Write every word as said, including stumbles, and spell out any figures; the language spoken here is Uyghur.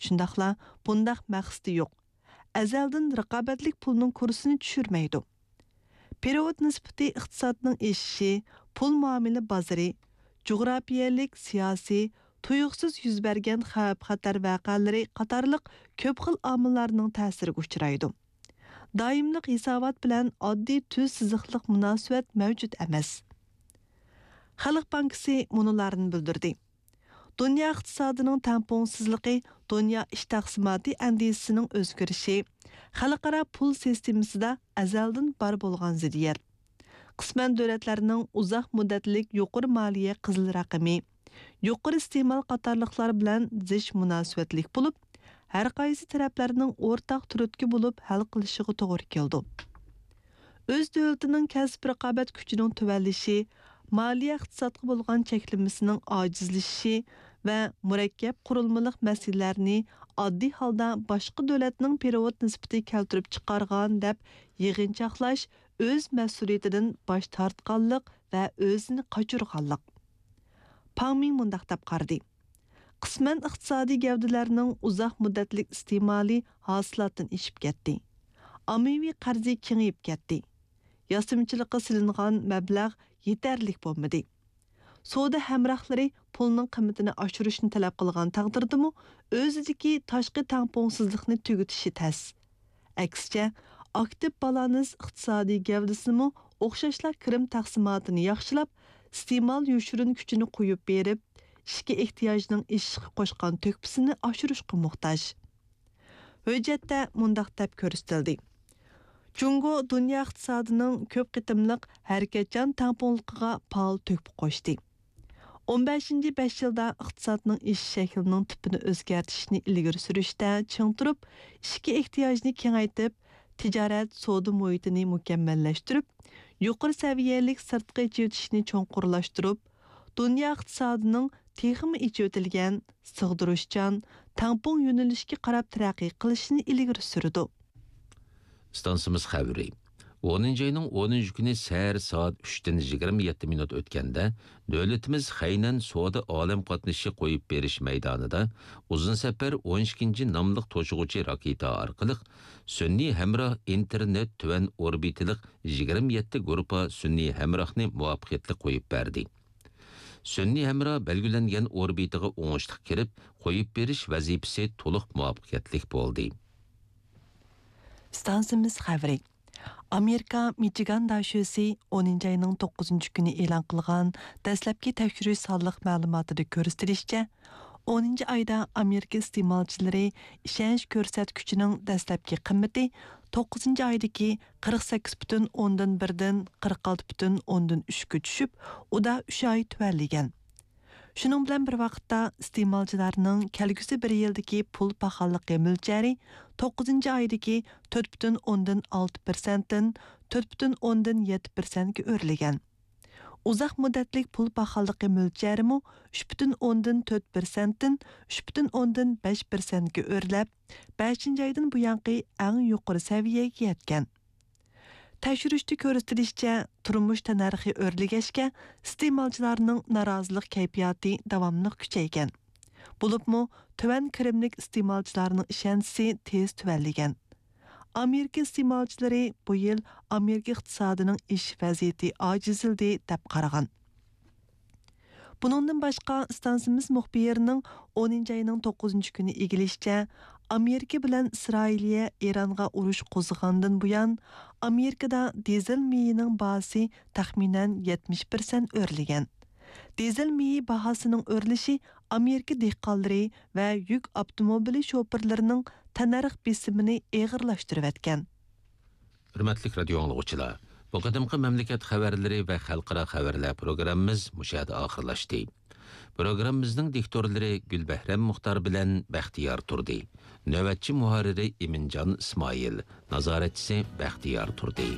شۇنداقلا بۇنداق مەقسىتى يوق. ئەزەلدىن رىقابەتلىك پۇلنىڭ كۇرسىنى چۈشۈرمەيدۇ. پېرېۋوت نىسبىتى ئىقتىسادنىڭ ئېشىشى، پۇل مۇئامىلە بازىرى، جۇغراپىيەلىك، سىياسىي، تۇيۇقسىز يۈز بەرگەن خەۋپ-خەتەر ۋەقەلىرى قاتارلىق كۆپ خىل ئامىللارنىڭ تەسىرىگە ئۇچرايدۇ. دائىملىق ھېسابات بىلەن ئاددىي تۈز سىزىقلىق مۇناسىۋەت مەۋجۇت ئەمەس. خەلق بانكىسى مۇنۇلارنى بىلدۈردى. دۇنيا ئىقتىسادىنىڭ تەڭپۇڭسىزلىقى دۇنيا ئىش تەقسىماتى ئەندىزىسىنىڭ ئۆزگىرىشى، خەلقئارا پۇل سىستېمىسىدا ئەزەلدىن بار بولغان زىددىيەت. قىسمەن دۆلەتلەرنىڭ ئۇزاق مۇددەتلىك يۇقىرى مالىيە قىزىل رەقىمى، يۇقىرى ئىستېمال قاتارلىقلار بىلەن زىچ مۇناسىۋەتلىك بولۇپ، ھەر قايسى تەرەپلەرنىڭ ئورتاق تۈرتكە بولۇپ ھەل قىلىشىغا توغرا كېلىدۇ. ئۆز دۆلىتىنىڭ كەسىپ رىقابەت كۈچىنىڭ تۆۋەنلىشى، مالىيە ئىقتىسادقا بولغان چەكلىمىسىنىڭ ئاجىزلىشىشى ۋە مۇرەككەپ قۇرۇلمىلىق مەسىلىلەرنى ئاددىي ھالدا باشقا دۆلەتنىڭ پېرېۋوت نىسبىتى كەلتۈرۈپ چىقارغان دەپ يىغىنچاقلاش ئۆز مەسئۇلىيىتىدىن باش تارتقانلىق ۋە ئۆزىنى قاچۇرغانلىق. پاڭ مىڭ مۇنداق دەپ قارىدى: قىسمەن ئىقتىسادىي گەۋدىلەرنىڭ ئۇزاق مۇددەتلىك ئىستېمالى ھاسىلاتتىن ئېشىپ كەتتى. ئاممىۋى قەرزى كېڭىيىپ كەتتى. ياسىمىچىلىققا سېلىنغان مەبلەغ يېتەرلىك بولمىدى. سودا ھەمراھلىرى پۇلنىڭ قىممىتىنى ئاشۇرۇشنى تەلەپ قىلغان تەقدىردىمۇ، ئۆزىدىكى تاشقى تەڭپۇڭسىزلىقنى تۈگىتىشى تەس. ئەكسىچە، ئاكتىپ بالانس ئىقتىسادىي گەۋدىسىمۇ ئوخشاشلا كىرىم تەقسىماتىنى ياخشىلاپ، ئىستېمال يوشۇرۇن كۈچىنى قويۇپ بېرىپ، ئىچكى ئېھتىياجنىڭ ئېشىشقا قوشقان تۆھپىسىنى ئاشۇرۇشقا موھتاج. ھۆججەتتە مۇنداق دەپ كۆرسىتىلدى: جۇڭگو دۇنيا ئىقتىسادىنىڭ كۆپ قېتىملىق ھەرىكەتچان تەڭپۇڭلۇقىغا پائال تۆھپە قوشتى. ئون بەشىنچى بەش يىلدا ئىقتىسادنىڭ ئېشىش شەكلىنىڭ تىپىنى ئۆزگەرتىشنى ئىلگىرى سۈرۈشتە چىڭ تۇرۇپ، ئىچكى ئېھتىياجنى كېڭەيتىپ، تىجارەت، سودا مۇھىتىنى مۇكەممەللەشتۈرۈپ، يۇقىرى سەۋىيەلىك سىرتقى ئېچىۋېتىشنى چوڭقۇرلاشتۇرۇپ، دۇنيا ئىقتىسادىنىڭ تېخىمۇ ئېچىۋېتىلگەن، سىغدۇرۇشچان، تەڭپۇڭ يۆنىلىشكە قاراپ تەرەققىي قىلىشىنى ئىلگىرى سۈرىدۇ. ئىستانسىمىز خەۋىرى. ئونىنچى ئاينىڭ ئونىنچى كۈنى سەھەر سائەت ئۈچتىن يىگىرمە يەتتە مىنۇت ئۆتكەندە، دۆلىتىمىز خەينەن سودا ئالەم قاتنىشى قويۇپ بېرىش مەيدانىدا ئۇزۇن سەپەر ئون ئىككىنچى ناملىق توشۇغۇچى راكېتا ئارقىلىق سۈنئىي ھەمراھ ئىنتېرنېت تۆۋەن ئوربىتىلىق يىگىرمە يەتتە گۇرۇپپا سۈنئىي ھەمراھنى مۇۋەپپەقىيەتلىك قويۇپ بەردى. سۈنئىي ھەمراھ بەلگىلەنگەن ئوربىتىغا ئوڭۇشلۇق كىرىپ، قويۇپ بېرىش ۋەزىپىسى تولۇق مۇۋەپپەقىيەتلىك بولدى. ئىستانسىمىز خەۋىرى. ئامېرىكا مىچىگان داشۆسى ئونىنچى ئاينىڭ توققۇزىنچى كۈنى ئېلان قىلغان دەسلەپكى تەكشۈرۈش سانلىق مەلۇماتىدا كۆرسىتىلىشىچە، ئونىنچى ئايدا ئامېرىكا ئىستېمالچىلىرى ئىشەنچ كۆرسەتكۈچىنىڭ دەسلەپكى قىممىتى توققۇزىنچى ئايدىكى قىرىق سەككىز پۈتۈن ئوندىن بىردىن قىرىق ئالتە پۈتۈن ئوندىن ئۈچكە چۈشۈپ، ئۇدا ئۈچ ئاي تۆۋەنلىگەن. شۇنىڭ بىلەن بىر ۋاقىتتا، ئىستېمالچىلارنىڭ كەلگۈسى بىر يىلدىكى پۇل پاخاللىقى مۆلچەرى توققۇزىنچى ئايدىكى تۆت پۈتۈن ئوندىن ئالتە پىرسەنتتىن تۆت پۈتۈن ئوندىن يەتتە پىرسەنتكە ئۆرلىگەن. ئۇزاق مۇددەتلىك پۇل پاخاللىقى مۆلچەرىمۇ ئۈچ پۈتۈن ئوندىن تۆت پىرسەنتتىن ئۈچ پۈتۈن ئوندىن بەش پىرسەنتكە ئۆرلەپ، بەشىنچى ئايدىن بۇيانقى ئەڭ يۇقىرى سەۋىيەگە يەتكەن. تەكشۈرۈشتە كۆرسىتىلىشىچە، تۇرمۇش تەننەرخى ئۆرلىگەچكە، ئىستېمالچىلارنىڭ نارازىلىق كەيپىياتى داۋاملىق كۈچەيگەن. بولۇپمۇ، تۆۋەن كىرىملىك ئىستېمالچىلارنىڭ ئىشەنچىسى تېز تۆۋەنلىگەن. ئامېرىكا ئىستېمالچىلىرى بۇ يىل ئامېرىكا ئىقتىسادىنىڭ ئېشىش ۋەزىيىتى ئاجىزلىدى، دەپ قارىغان. بۇنىڭدىن باشقا، ئىستانسىمىز مۇخبىرىنىڭ ئونىنچى ئاينىڭ توققۇزىنچى كۈنى ئىگىلىشىچە، ئامېرىكا بىلەن ئىسرائىلىيە ئىرانغا ئۇرۇش قوزغىغاندىن بۇيان، ئامېرىكىدا دىزېل مېيىنىڭ باھاسى تەخمىنەن يەتمىش پىرسەنت ئۆرلىگەن. دىزېل مېيى باھاسىنىڭ ئۆرلىشى ئامېرىكا دېھقانلىرى ۋە يۈك ئاپتوموبىلى شوپۇرلىرىنىڭ تەننەرخ بېسىمىنى ئېغىرلاشتۇرۇۋەتكەن. ھۆرمەتلىك رادىيو ئاڭلىغۇچىلار، بۇ قېتىمقى مەملىكەت خەۋەرلىرى ۋە خەلقئارا خەۋەرلەر پروگراممىمىز مۇشۇ يەردە ئاخىرلاشتى. پروگراممىمىزنىڭ دىكتورلىرى گۈلبەھرەم مۇختار بىلەن بەختىيار تۇردى. نۆۋەتچى مۇھەررىرى ئىمىنجان ئىسمائىل، نازارەتچىسى بەختىيار تۇردى.